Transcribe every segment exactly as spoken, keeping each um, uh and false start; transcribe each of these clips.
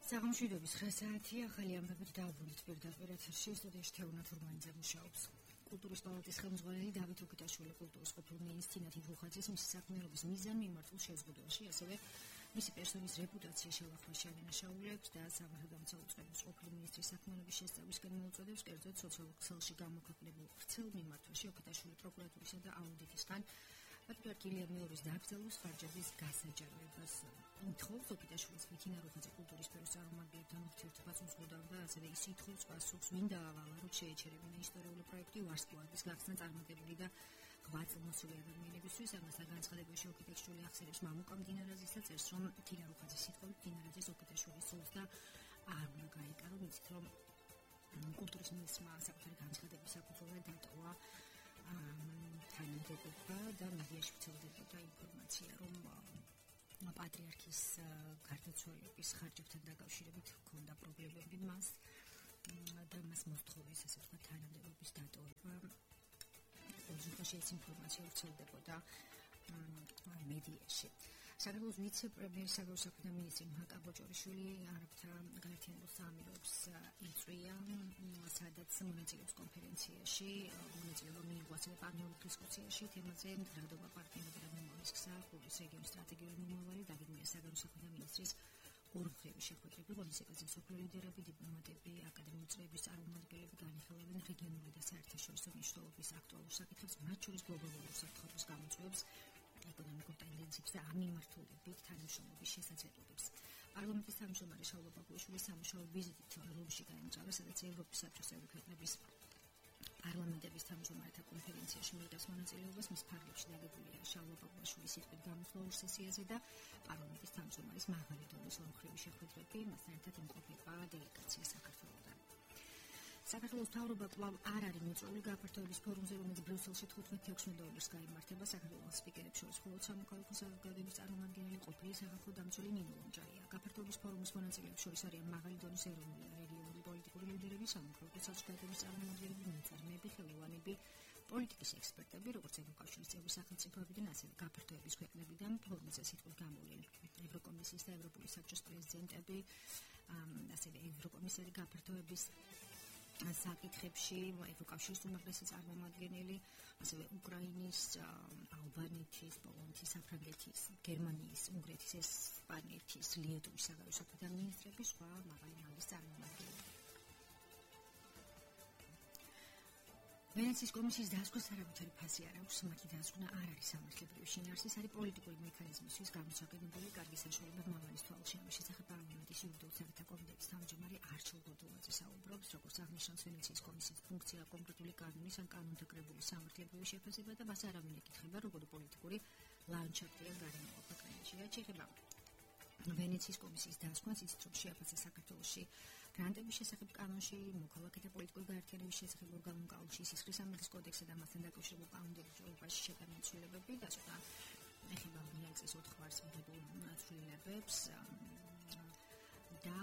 საღამოშვიდობის ხასიათი ახალი ამბებით დაუბრუნდით პირდაპირ ეთერში სტუდიაში თეონა თურმანიძე მუშაობს. კულტურის პალატის ხელმძღვანელი დავით ოკიტაშვილი კულტურის ყოფილ მინისტრი თიხუხაძის მისი საქმიანობის მიზანი მიმართულ შეზღუდვაში, ასევე მისი პერსონის რეპუტაციის შევახმას შეანაშაულებს და სამართალდამცავ უწყების ყოფილ მინისტრის საქმიანობის შესწავლისკენ მოუწოდებს, კერძოდ სოციალურ ქსელში გამოქვეყნებულ ვრცელ მიმართვაში ოკიტაშვილი პროკურატურისა და აუდიტისგან პატრიარქია მეორის დაკრძალვის ხარჯების გასაჯაროებას ითხოვს. ოკიტაშვილის მითინაროხაძე კულტურის სფეროს წარმომადგენლებთან ურთიერთობას უზღუდავდა, ასევე ის ითხოვს პასუხს ვინ დაავალა, რომ შეეჩერებინა ისტორიული პროექტი ვარსკვლავის გახსნა წარმატებული და ღვაწლმოსილი ადამიანებისთვის. ამასთან განცხადებაში ოკიტაშვილი ახსენებს მამუკა მდინარაძისა წერს, რომ მითინაროხაძის სიტყვებით მდინარაძეს ოკიტაშვილის სულს და არ უნდა გაეკარო, მიცით რომ კულტურის მინისტრმა საკუთარი განცხადების საფუძველზე დატოვა თანამდებობა და მედიაში ვრცელდებოდა ინფორმაცია, რომ პატრიარქის გარდაცვალების ხარჯებთან დაკავშირებით ჰქონდა პრობლემები მას და მას მოსთხოვეს, ასე ვთქვათ, თანამდებობის დატოვება. ოღონდ ეს ინფორმაცია ვრცელდებოდა მედიაში. საქართველოს ვიცე-პრემიერი საგარეო მინისტრი მაკა ბოჭორიშვილი არაბთა გაერთიანებულ საამიროებს იწვია, სადაც მონაწილეობს კონფერენციაში, მონაწილეობა მიიღო ასევე პანეულის დისკუსიაში თემაზე მდგრადობა პარტნიორობა და მომავლის გზა, ხურის რეგიონის სტრატეგიული მომავალი, დაგეგმილია საგარეო საქმეთა მინისტრის ორმხრივი შეხვედრები, ღონისძიებაზე მსოფლიო ლიდერები, დიპლომატები, აკადემიური წრეების წარმომადგენლები განიხილავენ რეგიონული და საერთაშორისო მნიშვნელობის აქტუალურ საკითხებს, მათ შორის გლობალურ საფრთხების გამოწვევებს, ეკონომიკურ ტენდენციებს და ამ მიმართულებით თანამშრომლობის შესაძლებლობებს. პარლამენტის თავმჯდომარე შაულა ბაკუიშვილის სამუშაო ვიზიტით რომში გაემგზავრა, სადაც ევროპის საბჭოს ევროქრების პარლამენტების თავმჯდომარეთა კონფერენციაში მიიღებს მონაწილეობას. მის ფარგლებში დაგებულია შაულა ბაკუიშვილის სიტყვით გამოსვლაურ სესიაზე და პარლამენტის თავმჯდომარის მაღალი დონის ორმხრივი შეხვედრები, მასთან ერთად იმყოფება დელეგაცია საქართველოდან. საქართველოს მთავრობა კვლავ არ არის მოწვეული გაფართოების ფორუმზე, რომელიც ბრიუსელში თხუთმეტი ოქტომბერს გაიმართება. საქართველოს სპიკერებს შორის მხოლოდ სამოქალაქო საზოგადოების წარმომადგენელი ყოფილი სახელმწიფო დამცველი ნინო ლონჯარია. გაფართოების ფორუმის მონაწილეებს შორის არიან მაღალი დონის ეროვნული და რეგიონული პოლიტიკური ლიდერები, სამოქალაქო საზოგადოების წარმომადგენლები, მეწარმეები, ხელოვანები, პოლიტიკის ექსპერტები, როგორც ევროკავშირის წევრი სახელმწიფოებიდან, ასევე გაფართოების ქვეყნებიდან. ფორუმზე სიტყვით გამოვლენ ევროკომისიის და ევროპული საბჭოს პრეზიდენტები, ასევე ევროკომისარი გაფართოების საკითხებში, ევროკავშირის უმაღლესი წარმომადგენელი, ასევე უკრაინის, ალბანეთის, პოლონეთის, საფრანგეთის, გერმანიის, უნგრეთის, ესპანეთის, ლიეტუვის საგარეო საქმეთა მინისტრები, სხვა მაღალი რანგის წარმომადგენლები. ვენეციის კომისიის დასკვნის არავითარი ფასი არ აქვს, მათი დასკვნა არ არის სამართლებრივი შინაარსი, არის პოლიტიკური მექანიზმისთვის გამოსაგებებული კარგი საშუალება მამალის თვალში. ამის შესახებ პარლამენტის იურიდიულ საქმეთა კომიტეტის თავმჯდომარე არჩილ გოდულაძე საუბრობს, როგორც აღნიშნავს ვენეციის კომისიის ფუნქცია კონკრეტული კანონის ან კანონდაკრებული სამართლებრივი შეფასება და მას არავინ ეკითხება, როგორი პოლიტიკური ლანდშაფტი ან გარემოება ქვეყანაში აჩეხება. ვენეციის კომისიის დასკვნის იცით, რომ შეაფასა საქართველოში გრანტების შესახებ კანონში, მოქალაქეთა პოლიტიკური გაერთიანების შესახებ ორგანულ კანონში, სისხლის სამართლის კოდექსსა და მასთან დაკავშირებულ კანონმდებლობაში შეტანილი ცვლილებები და ცოტა ეხება ვინაიცის ოთხ ვარს მიღებულ ცვლილებებს და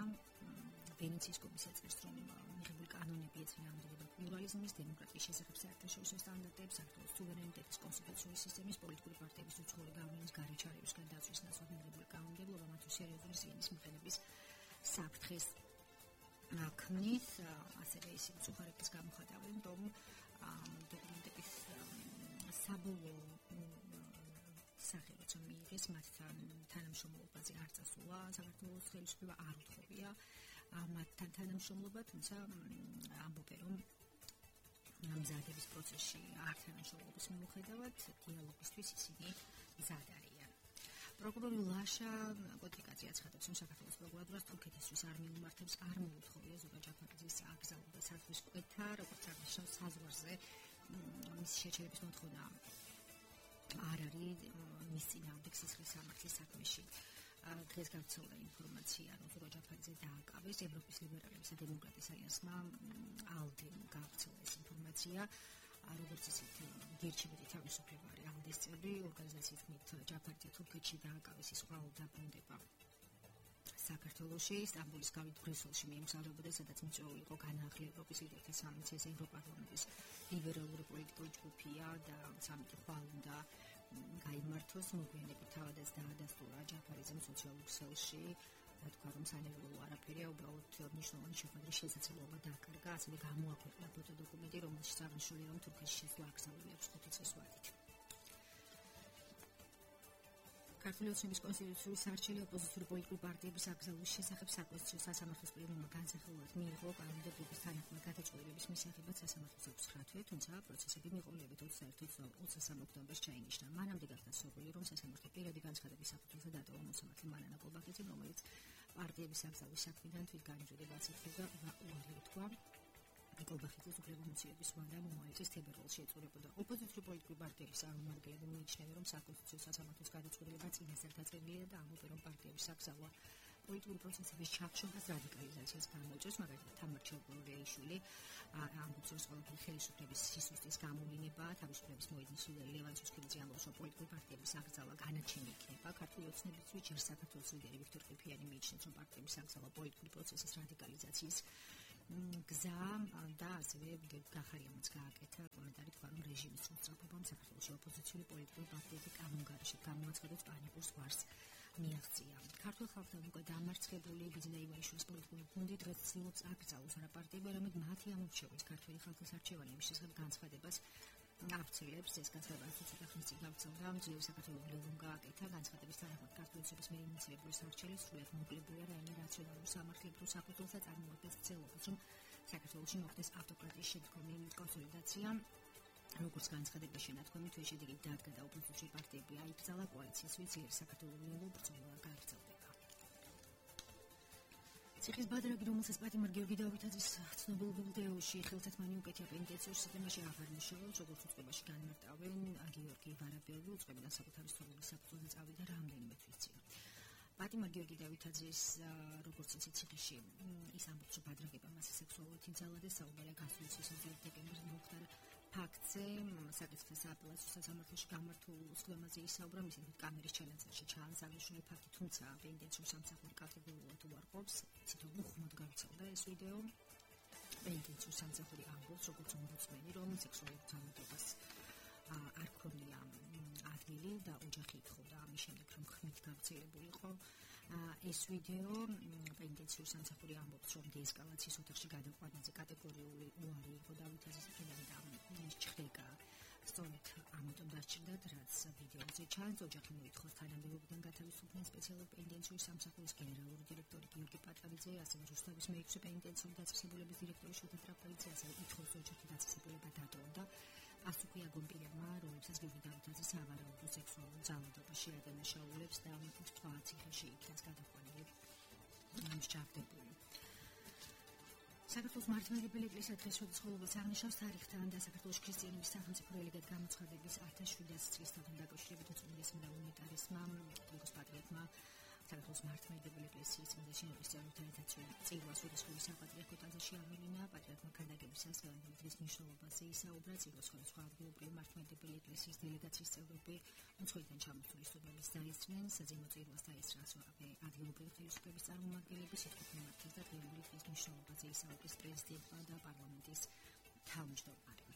ვენეციის კომისია წერს, რომ მიღებული კანონები ეწევა ამდებოდა პლურალიზმის, დემოკრატიის შესახებ საერთაშორისო სტანდარტებს, საქართველოს სუვერენიტეტის, კონსტიტუციური სისტემის, პოლიტიკური პარტიების უცხოური გავლენის, გარეჩარევისგან დაცვის ნაცვლად მიღებული კანონმდებლობა მათთვის სერიოზული ზიანის მიღების საფრთხეს ქმნის. ასევე ისინი უხარებდეს გამოხატავენ, რომ დოკუმენტების საბოლოო სახელიც მიიღეს მათთან თანამშრომლობაზე არ წასულა, საქართველოს ხელისუფლება არ უთხოვია მათთან თანამშრომლობა, თუმცა ამბობენ, რომ მზადების პროცესში არ თანამშრომლობის მიუხედავად დიალოგისთვის ისინი მზად არიან. პროკურორი ლაშა კოდიკაძე აცხადებს, რომ საქართველოს პროკურატურას თურქეთისთვის არ მიუმართებს, არ მოუთხოვია ზურაბ ჯაფარიძის აკრძალვა საზღვრის კვეთა, როგორც აღნიშნავს საზღვარზე მისი შეჩერების მოთხოვნა არ არის მის წინააღმდეგ სისხლის სამართლის საქმეში. დღეს გავრცელდა ინფორმაცია, რომ ზურაბ ჯაფარიძე დააკავეს ევროპის ლიბერალებისა და დემოკრატიის ალიანსმა ალდემ გავრცელა ეს ინფორმაცია. როგორც ისეთ გერჩებოდი თავისუფლება არის ალდეს წევრი ორგანიზაციის თქმით ჯაფარიძე თურქეთში დააკავეს ის ყველა დაბრუნდება საქართველოში, სტამბოლის გავით ბრიუსელში მიემგზავრებოდა, სადაც მიწვეული იყო განაახლი ევროპის ლიდერთა სამიტი, ეს ევროპარლამენტის ლიბერალური პოლიტიკური ჯგუფია და სამიტი ხვალ უნდა გაიმართოს. მოგვიანებით თავადაც დაადასტურა ჯაფარიძემ სოციალურ ქსელში თქვა, რომ სანერვულო არაფერია, უბრალოდ მნიშვნელოვანი შეხვედრის შესაძლებლობა დაკარგა, ასევე გამოაქვეყნა ფოტოდოკუმენტი, რომელშიც აღნიშნულია, რომ თურქეთში შესვლა აკრძალული აქვს ხუთი წლის ვადით. ქართული ოცნების კონსტიტუციური სარჩელი ოპოზიციური პოლიტიკური პარტიების აკრძალვის შესახებ საკონსტიტუციო სასამართლოს პლენუმმა განსახილვად მიიღო კანდიდატების თანახმად გადაწყვეტილების მისაღებად სასამართლოს აქვს სხრა თვე, თუმცა პროცესები მიყოლებით ოცდაერთი ოქტომბერს ჩაინიშნა. მანამდე გახდა სურვილი, რომ სასამართლო პირადი განცხადების საფუძველზე დატოვა მოსამართლე მანანა კოლბახიძემ, რომელიც პარტიების აკრძალვის საქმიდან თვითგანიჭრებას ითხოვდა უარი უთქვა. კოლბახიძის უფლებამოსილების ვადა მომავალ წლის თებერვალში ეწურებოდა. ოპოზიციური პოლიტიკური პარტიების წარმომადგენლები მიიჩნევენ, რომ საკონსტიტუციო სასამართლოს გადაწყვეტილება წინასწარ დაწერილია და ამბობენ, რომ პარტიების აკრძალვა პოლიტიკური პროცესების ჩახშობას რადიკალიზაციას გამოიწვევს, მაგალითად თამარ ჩხეიშვილი ამბობს, რომ ყოველგვარი ხელისუფლების სისუსტის გამოვლინება, თავისუფლების მოედნის ლიდერი ლევან სუსქიძე ამბობს, რომ პოლიტიკური პარტიების აკრძალვა განაჩენი იქნება. ქართული ოცნებისთვის ჯერ საქართველოს ლიდერი ვიქტორ ყიფიანი მიიჩნევს, რომ პარტიების აკრძალვა პოლიტიკური პროცესის რადიკალიზაციის გზა და ასევე გახარიანაც გააკეთა კომენტარი თქვა, რომ რეჟიმის სრულწლობამ საქართველოში ოპოზიციური პოლიტიკური პარტიები კანონგარიშით გამოაცხადოს პანიკურ ზღვარს მიაღწია. ქართულ ხალხთან უკვე დამარცხებული ბიძინა ივანიშვილის პოლიტიკური გუნდი დღეს ცდილობს აკრძალოს არა პარტიები, არამედ მათი ამორჩევის ქართული ხალხის არჩევანების შესახებ განცხადებას აფცილებს. ეს განცხადება ცოტა ხნის წინ გავრცელდა, ძლიერი საქართველოს ლევან გააკეთა განცხადების თანახმად ქართული ოცნების მიერ ინიციირებული სარჩელი სრულიად მოკლებულია რაიმე რაციონალურ სამართლებრივ საფუძველზე წარმოადგენს ცდილობას, რომ საქართველოში მოხდეს ავტოკრატიის შემდგომი კონსოლიდაცია. როგორც განცხადება შენათქვამით, ეს შედეგი დადგა და ოპოზიციური პარტიები აიკრძალა კოალიციის ძლიერი საქართველოს ბრძოლა გააგრძელდება. ციხის ბადრაგი, რომელსაც პატიმარ გიორგი დავითაძის ცნობილ ვიდეოში ხელთათმანი უკეთია პენიტენციურ სისტემაში აღარ მუშაობს, როგორც უწყებაში განმარტავენ გიორგი ვარაბელი, უწყებიდან საკუთარი სწავლის საფუძველზე წავიდა რამდენიმე თვის წინ. პატიმარ გიორგი დავითაძის როგორც იცი ციხეში ის ამბობს, რომ ბადრაგებმა მას სექსუალურად იძალა და საუბარია გასული წლის ოცდაერთი დეკემბრის მომხდარ ფაქტზე. საკითხის აპელაციო სასამართლოში გამართულ უწყებაზე ისაუბრა, მისი კამერის ჩანაწერში ჩაანაცვლებული ფაქტი, თუმცა პენიტენციურ სამსახური კატეგორიულად უარყოფს. ცითო უხმოდ გავრცელდა ეს ვიდეო. პენიტენციურ სამსახური ამბობს, როგორც ომბუდსმენი, რომ სექსუალურ ძალადობას არ ქონია ადგილი და ოჯახი ითხოვდა ამის შემდეგ, რომ ხმით გავრცელებული იყო ეს ვიდეო. პენიტენციურ სამსახური ამბობს, რომ დეესკალაციის ოთახში გადაყვანაზე კატეგორიული უარი იყო დავითაძის მხრიდან და ის ჩხდეკა სწორედ ამიტომ დასჭირდათ, რაც ვიდეოზე ჩანს. ოჯახი მოითხოვს თანამდებობიდან გათავისუფლდნენ სპეციალური პენიტენციური სამსახურის გენერალური დირექტორი გიორგი პატალიძე, ასევე რუსთავის მეექვსე პენიტენციური დაწესებულების დირექტორი შოთა ტრაპალიძე, ასევე ითხოვს ოჯახი დაწესებულება დატოვა და პასუხი აგონპირებმა, რომლებსაც გიორგი დავითაძე სავარაუდო სექსუალურ ძალადობაში ადანაშაულებს და თქვა ციხეში იქნას გადაყვანილი მსჯავრდებული. საქართველოს მართლმადიდებელი ეკლესია დღეს შესაძლებლობას აღნიშნავს თარიღთან და საქართველოს ქრისტიანების სახელმწიფო რელიგიად გამოცხადების ათას შვიდას წლისთან დაკავშირებით უწმინდესმა და უნიტარესმა გრიგოს პატრიარქმა საქართველოს მართლმადიდებელი ეკლესიის წმინდა შენობის წევრთა წირვას უდიდესობის საპატრიარქო ტაძარში ამილინა. პატრიარქმა ქადაგებისას დღის მნიშვნელობაზე ისაუბრა. წირვას სხვადასხვა ადგილობრივი მართლმადიდებელი ეკლესიის დელეგაციის წევრები უცხოეთიდან ჩამოსული სტუდენტების დაესწრნენ. საძინო წირვას დაესწრა ადგილობრივი ხელისუფლების წარმომადგენლები, სიტყვით მიმართეს და დღევანდელი დღის მნიშვნელობაზე ისაუბრეს პრეზიდენტმა და პარლამენტის თავმჯდომარემ.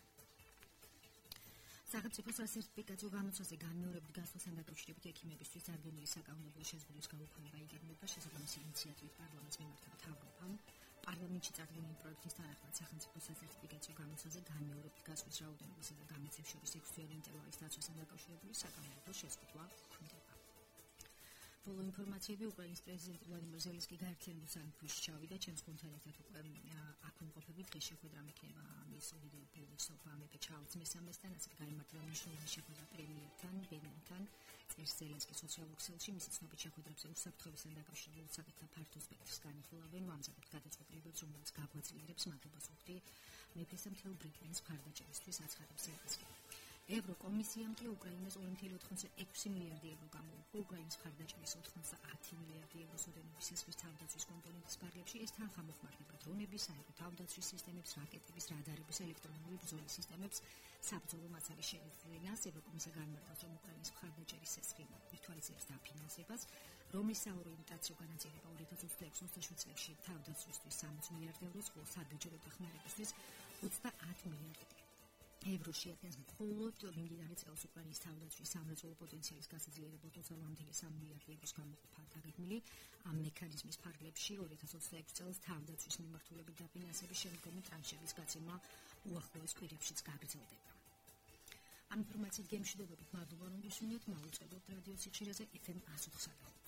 სახელმწიფო სასერტიფიკაციო გამოცვალზე განმეორებით გასვლასთან დაკავშირებით ექიმებისთვის წარდგენილი საკანონმდებლო შეზღუდვის გაუქმება იგეგმება. შესაბამისი ინიციატივით პარლამენტს მიმართა მთავრობამ პარლამენტში წარდგენილი პროექტის თანახმად სახელმწიფო სასერტიფიკაციო გამოცვალზე განმეორებით გასვლის რაოდენობისა და გამოცემის შორის ექვსთვიანი ინტერვალის დაცვასთან დაკავშირებული საკანონმდებლო შეზღუდვა გვხვდება. ბოლო ინფორმაციები უკრაინის პრეზიდენტ ვლადიმერ ზელენსკი გაერთიანებულ სამეფოში ჩავიდა. ჩემს გუნდთან ერთად უკვე აქ ვიმყოფებით. დღეს შეხვედრა მექნება მის უდიდებულესობა მეფე ჩარლზ მესამესთან, ასევე გაიმართება მნიშვნელოვანი შეხვედრა პრემიერთან ბენინთან. წერს ზელენსკი სოციალურ ქსელში, მისი ცნობით შეხვედრებზე უსაფრთხოებასთან დაკავშირებულ საკითხთა ფართო სპექტრს განიხილავენ, ამზადებს გადაწყვეტილებებს, რომელიც გაგვაძლიერებს მადლობას ვუხდი მეფესა მთელ ბრიტანეთის მხარდაჭერისთვის, აცხადებს ზელენსკი. ევროკომისიამ კი უკრაინას ორი წუთი ოცდაექვსი მილიარდი ევრო გამოუხო. უკრაინის მხარდაჭერის ოცდაათი მილიარდი ევროს ოდენობის სისხლის თავდაცვის კომპონენტის ფარგლებში. ეს თანხა მოხმარდება დრონების, საერთო თავდაცვის სისტემებს, რაკეტების, რადარების, ელექტრონული ბრძოლის სისტემებს, საბრძოლო მასალის შეძენას. ევროკომისია განმარტავს, რომ უკრაინის მხარდაჭერის სისხლი ვითვალისწინებს დაფინანსებას, რომლის საორიენტაციო განაწილება ორი ათას ოცდაექვსი ოცდაშვიდ წლებში თავდაცვისთვის სამოცი მილიარდი ევროს, ხოლო საბიუჯეტო დახმარებისთვის ოცდაათი მილიარდი ევრო შეადგენს მხოლოდ მიმდინარე წელს უკრაინის თავდაცვის სამრეწველო პოტენციალის გასაძლიერებლად ოცდაოთხ წამსვე მილიარდი ევროს გამოყოფა დაგეგმილი ამ მექანიზმის ფარგლებში ორი ათას ოცდაექვსი წელს თავდაცვის მიმართულებით დაფინანსების შემდგომი ტრანშების გაცემა უახლოეს კვირებშიც გაგრძელდება. ამ ინფორმაციით გემშვიდობებით მადლობა რომ გისმინეთ, მოვუწევთ რადიო სიჩირეზე ეფ ემ one oh four.